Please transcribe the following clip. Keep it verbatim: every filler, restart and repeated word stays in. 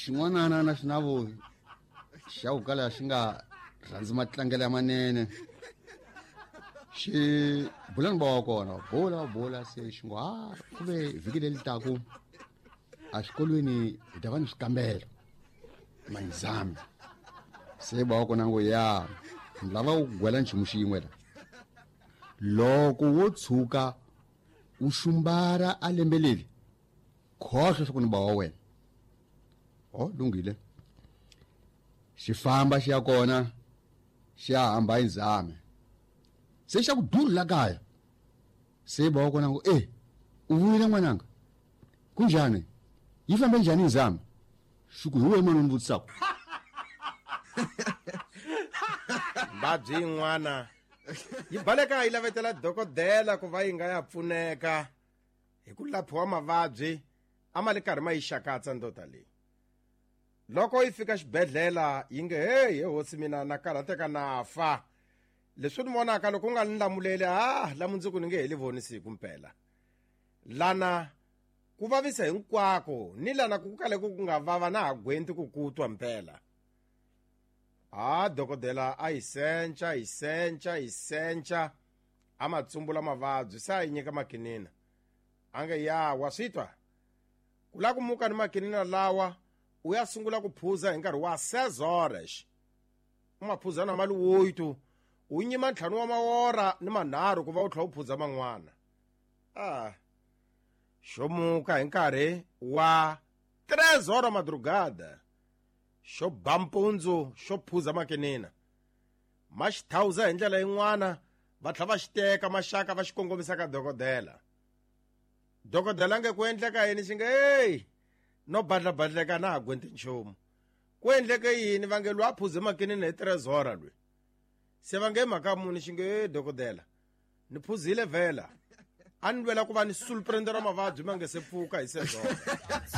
Xin'wanana na xinavo xa ku kala xi nga rhandzi matlangelo ya manene. Xi bula ni ba wa kona, bula bula se xi ngo ha ku ve vhiki leri taku a xikolweni hi ta va ni swikambelo ma-exam. Se ba wa kona ngo ya ni lava ku gwela nchumu xin'we la. Loko wo tshuka u xumbara a lembe leri khohlwa swa ku ni ba wa wena. Oh lunghile. Xi famba xi ya kona xi ya hamba exam. Se xa ku dulu la kaya. Se ba wa kona ngo eh u vuyile n'wananga. Kunjani? Yi fambe njhani exam? Xi ku hi wena mani u ni vutisaka. Mbabyi yin'wana yi baleka yi lavetela dokodela ku va yi nga ya pfuneka hi ku laphiwa mavabyi a ma le karhi ma yi xakatsa ndota leyi. Loko yi fika xibedhlele yi nge hey he hosi mina na karhateka na fa. Leswi ni vonaka loko u nga ni lamuleli ah la mundzuku ni nge heli voni siku mpela. Lana ku vavisa hinkwako ni lana ku kale ku nga vava na ha gwenti ku kutwa mpela. Ah dokodela a yi sencha yi sencha yi sencha a ma tsumbula mavabyi se a yi nyika makinina. A nge ya wa swi twa ku la ku muka ni makinina lawa u ya sungula ku phuza hi nkarhi wa seis horas. U ma phuza na mali oito u nyima ntlhanu wa mawora ni manharhu ku va u tlhela u phuza man'wana. Ah xo muka hi nkarhi wa tres horas madrugada xo ba mpundzu xo phuza makinina. Ma xi thawuza hi ndlela yin'wana va tlhela va xi teka maxaka va xi kongomisa ka dokodela. Dokodela nge ku endleka yini xi nge hey no badlabadleka na ha gwenti nchumu. Ku endleke yini va nge lwa a phuze makinina hi tres horas lwe. Se va nge mhaka muni xi nge hey dokodela ni phuzile vhela a ni lwela ku va ni sulprendera mavabyi ma nge se pfuka hi seis horas.